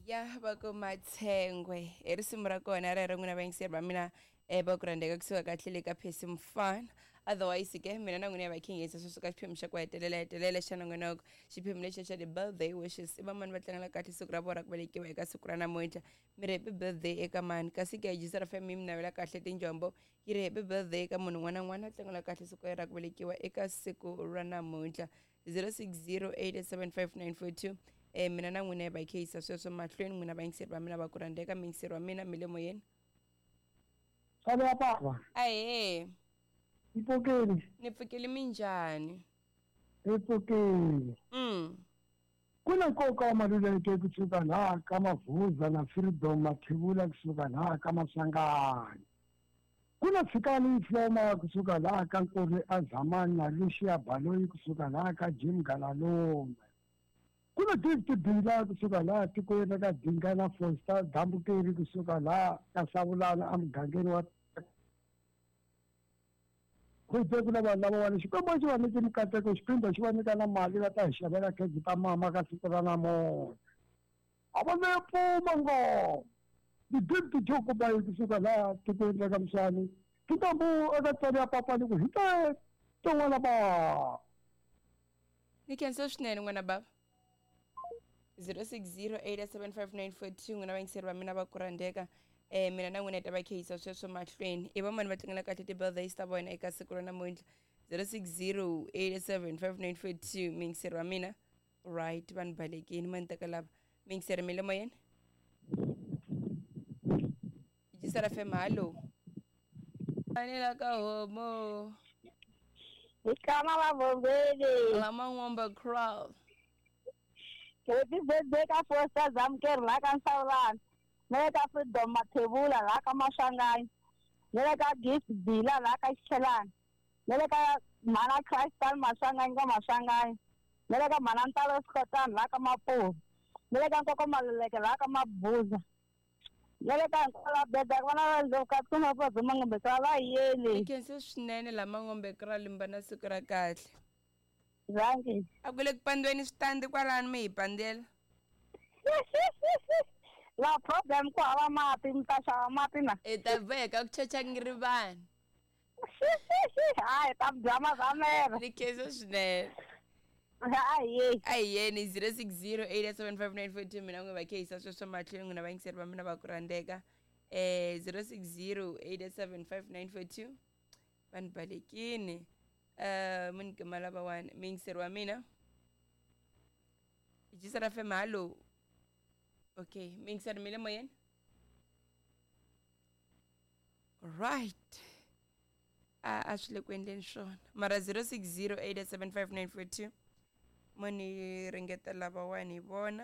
Ya va ku Matshengwe i risimu ra kona rero n'wina vayingiseri va mina va ku rhandzeka kusuka kahle le ka Percy Mfana. Otherwise ke mina na n'wina ya va khingisa sweswi ka xiphemu xa ku hetelela hetelela xa nongonoko, xiphemu lexi xa ti-birthday wishes. I vamani va tlangela kahle siku ra vona ra ku velekiwa eka siku ra namuntlha? Mi ri happy birthday eka mani? Kasi ke Jisara FM yi mi navela kahle tinjombo, yi ri happy birthday eka munhu un'wana na un'wana a tlangela kahle siku ra ku velekiwa eka siku ra namuntlha. 06087594 mina na n'wina hi va kheyisa sweswo mahlweni. N'wina vayingiseri va mina va ku rhandzeka, muyingiseri wa mina mi le moyeni. Sale ya baba. Ahee. Ni pfukile. Ni pfukile, minjhani? Ni pfukile. Ku na nkoka wa Maluleke kusuka laha ka Mavuza na Freedom Mathebula kusuka laha ka Maswanganyi. Ku na Tshikani Floma kusuka laha ka Nkuri Azamani na Lucia Baloyi kusuka laha ka Jim Galalume. Ku na Gift Bila kusuka laha tikweni ra ka Dinga na Foster Dambukeri kusuka laha ka Savulana emugangeni wa Khwete. Ku na vanhu lavawani Xikwembu xi va nyike mikateko, xiphinda xi va nyika na mali, va ta hi xavela khekhe ta mama ka siku ra namuntlha. A va ve pfuma ngoma ti-gift jokubayi kusuka laha tikweni ra ka Mswani tintambu eka tswari ya papa ni ku hi te tin'wana ba. Ni khensa swinene n'wana bava. 06087594 n'wina vayingiseri va mina va ku rhandzeka, mina na n'wina hi ta va kheyisa sweswo mahlweni. I vamani va tlangela kahle ti-birthdays ta vona eka siku ra namuntlha? 06087594 muyingiseri wa mina. Right, vanhu balekini ma ni teka lava. Muyingiseri, mi le moyeni, Jisara FM, hallo. Fanela ka homo. Ikama vabombeni. Lama n'womba crowd. Happy birthday ka Foster Zamker la ka Nsawulana. Na le ka Freedom Mathebula la ka Maswanganyi. Na le ka Gift Bila la ka Xichelana. Na le ka Mhana Crystal Maswanganyi ka Maswanganyi. Na le ka Mhana Ntalo Sikotana la ka Mapuhu. Na le ka Nkoko Maluleke la ka Mabuza. Na le ka hinkwavo beda vana va Ndlovu ka va Mangombe ka va yeni. Ni khense swinene lama ngombe kra limba na siku ra kahle. Zangi. A ku le ku pandweni switandi kwalano mi hi pandela. La problem ku hava mati, mi ta xava mati na. I ta boheka ku chacha ngirivani. Hayi ta bya mazamela. Ni khense swinene. Hayi. A hi yeni. 06087594 mina n'wi va kheyisa sweswo mahlweni n'wina vayingiseri va mina va ku rhandzeka. 06087594 vanhu balekini mi ni kuma lavawani. Muyingiseri wa mina, Jisara FM, hallo. Okay, muyingiseri, mi le moyeni. Right, a swi le ku endleni swona mara 06087594 mo ni ringeta lavawani hi vona.